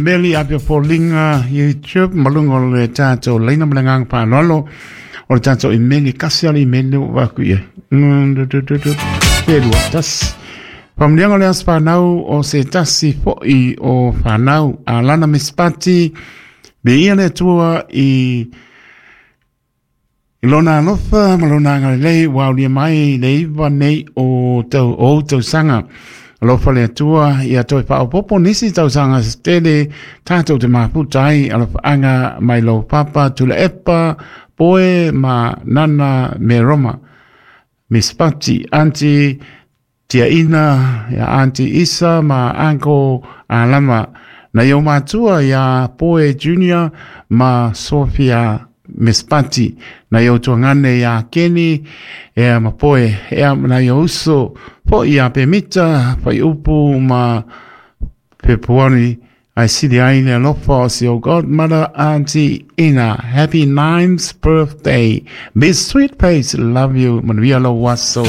Meli a pe foliga YouTube ma luga o le tatou laina ma le agaga faaaloalo o le tatou imeli kasi a le imeli ua vaku i ai. Pe lua tasi. Faamanuiaga o le aso fanau o se tasi fo'i o fanau a Lana Mispati me ia le Atua i lona alofa ma lona agalelei ua aulia mai le 9 nei o tau o tausaga. Alofa le Atua ia toe faaopoopo nisi tausaga se tele tatou te mafuta ai alofaaga mai lou papa Tulaepa Poe ma Nana Meroma. Mispati, Auntie Tiaina, ia Auntie Isa ma Uncle Alama. Na i o matua ia Poe Junior ma Sofia Mispati. Na i o tuangane ia Kenny ea ma Poe. Ea na i o uso po ia Pemita, Whaiupu ma Pepuani. I see the aina alofa o si o godmother Auntie Ina. Happy ninth birthday. Miss Sweet Face, love you. Manuia lo waso.